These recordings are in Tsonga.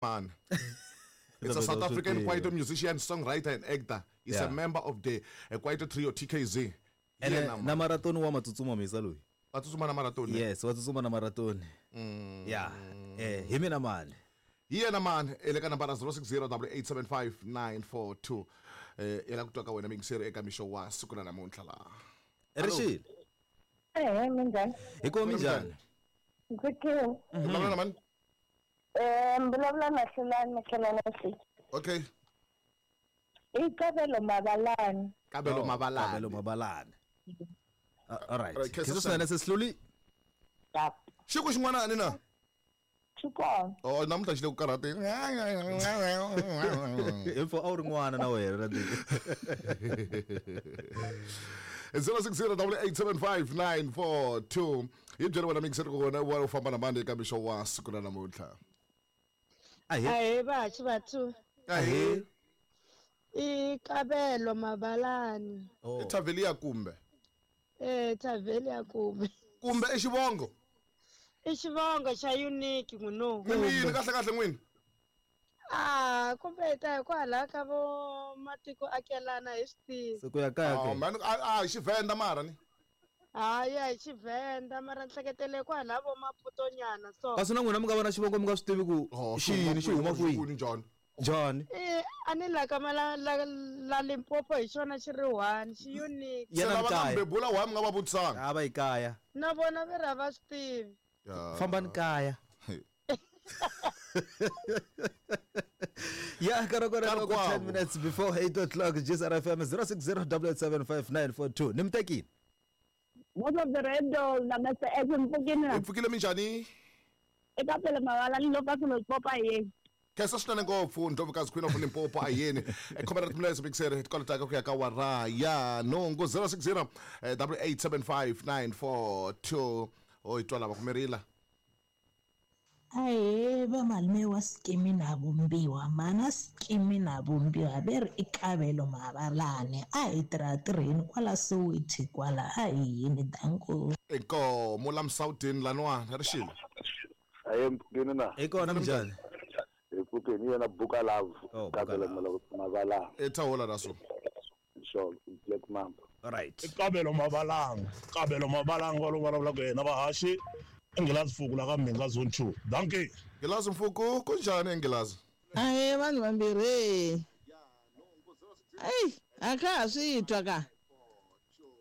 Man. It's a South African kwaito musician, songwriter and actor. He's a member of the Kwaito Trio TKZ. Ene na marathon wa matsutsuma misa loyi. Wa tsutsuma na marathon. Yes, wa tsutsuma na marathon. Yeah. Hi mina mani. Hi yena mani le ka nambara 0608875942. Ela ku twa ka wena mingiseri eka mixo wa siku ra namuntlha laha. Rixile. Eh, minjhani? Hi ko minjhani? Ndzi kile. Vulavula na mani? Vulavula na Hlulani Makhelwana Swi. Okay. I Kabelo Mabalane. Kabelo Mabalane. Kabelo Mabalane. All right. Right, Khe swinene sesihluli. Yap. Xi ku xin'wana ni na? Xi kona. Oh, namuntlha xi le ku karhateni. Info a wu ri n'wana na wena na ndzi. 0608875942 hi byele wena mingiseri ku wena wa u famba na mani eka mixo wa siku ra namuntlha. Ahee. Ahee vahaxi vathu. Ahee. I Kabelo Mabalane. I Thavelia kumbe? Thavelia kumbe. Kumbe i xivongo? I xivongo xa unique n'wino. N'wini kahle kahle n'wini? Ah, kumbe hi ta hi kwalaho ka vo matiko akelana hi swi tivi. Se ku ya kaya Oh ke. man, a hi Xivenda mara ni. Hayi a hi Xivenda mara ni hleketele kwalaho vo Maputo nyana so. Kasi na n'wina mi nga vona xivongo mi nga swi tivi ku Oh, xi yini xi huma kwihi. Kwini njhani? Njhani? A ni la ka la la la Limpopo hi xona xi ri one, xi unique. Se Yena lava nga kaya. mbebula why mi nga va vutisanga? A va yi kaya. Na vona ve ri a va swi tivi. Fambani kaya. Ya karokora Karhi loko kwavo. 10 minutes before 8 o'clock GSR FM 0608875942. Ni mutekile. Most of the radio na Mr. X mpfukini Hi pfukile minjhani? I Kabelo Mabalane loko a swilo popa yeni. Khensa swinene ngopfu Ndlovukazi Queen of Limpopo ayeni. Khomera timilese mixere tikolotaka ku ya ka wara ya nhungu 060 8875942 o hi twa lava kumirila. Ahee vamalume wa Skimi na Vumbiwa mana Skimi na Vumbiwa ve ri i Kabelo Mabalane a hi tirha tirheni kwala Soweto kwala a hi yini danko. Inkomo la Msawutini laniwani rixile. Aye mpfukeni na. Hi kona minjhani? Hi pfukeni yena Buka Love. Oh, Buka Kabelo Love. Mabalane. I thawula ra so. Sure, Black Mamba. All right. Kabelo Mabalanga. Kabelo Mabalanga wa lo vulavulaka yena vahaxi Nghilazi Mfuku la ka Mhinga zone 2. Dankie. Nghilazi Mfuku kunjhani Nghilazi? Ahee vanhu vambirhi. Eyi a kha ha swi twa ka.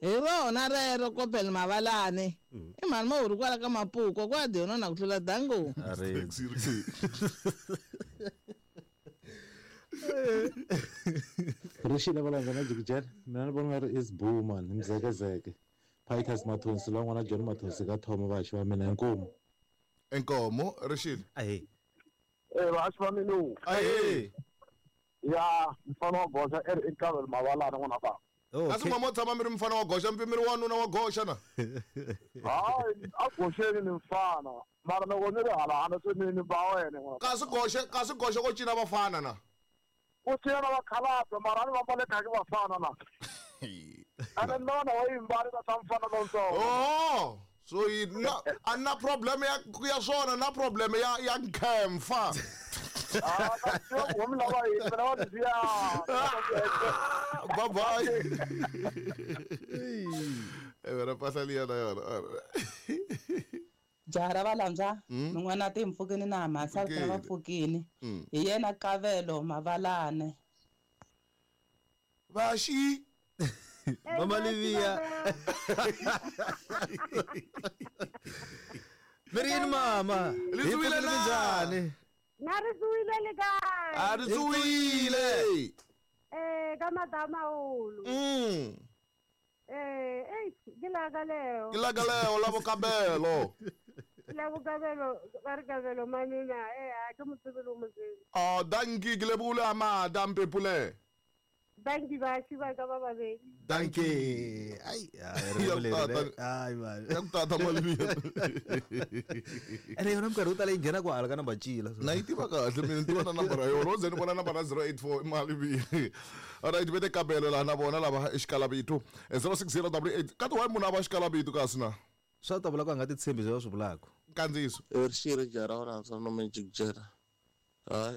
Hi rona rero Kabelo Mabalane. I mhani ma wu ri kwala ka Mapuko kwa dyona na ku tlula dango. Ari. Rixile valandza na Jikijela mina ni vona nga ri is Boo man hi Mzekezeke Pitus Mathonsi la n'wana John Mathonsi ka Thoma vahaxi va mina inkomu. Inkomo rixile. Ahee. Vahaxi va mina. Ahee. Ya mfana wa goxa i ri i Kabelo Mabalane n'wana baba. Kasi Okay. n'wa mo tshama mi ri mfana wa goxa mi ri wanuna wa goxa na. Hayi a goxeni ni mfana mara loko ni ri hala hala se ni ba wena n'wana. Kasi goxa kasi goxa ko cina vafana na. Ku cina na vakhalabye mara a ni va mbale khaki vafana na. Ene nona wa yimbali na ta mfana lontsongo. Oh, so yi na a na problem ya ya swona na problem ya ya nkhemfa. Ah, ka swi tiva ku mi lava yini mina va ni siya. Bye bye. Wena mpahla liya na yona. Jaha ra valambya min'wana ti mpfukini na mhasa Pfukile. va pfukini hi yena Kabelo Mabalane. Vaxi. Mama Livia. Mi ri yini mama? Ri Hi tsuwile pfukile na? minjhani? Na ri tsuwile le kae? A ri tsuwile. Ka Madamahulu. Ei ke la ka leo. Ke la ka leo la Bokabelo. La Bokabelo ba re Kabelo manina a ke mo tsebe le mo tsebe. Oh, dankie ke lebogile a mada mpepule. Dankie baši ba ka ba babedi. Dankie. Ai, ai Ya ri tata. Ai man. Ya ku tata Malivia. Ene yona minkarhi yo tala yi nghena ku hala ka number cila. Na yi tiva kahle mina ni tiva na nambara ya yona. Wo ze ni vona nambara 084 i Malivia. Alright, vete Kabelo laha na vona lava i xikalavitu. 06088 ka ti why munhu a va xikalavitu kasi na? Swa ta vula ku a nga ti tshembi leswi va swi vulaka. Nkandziyiso. Rixile jaha ra valandza no Jikijela. Ha.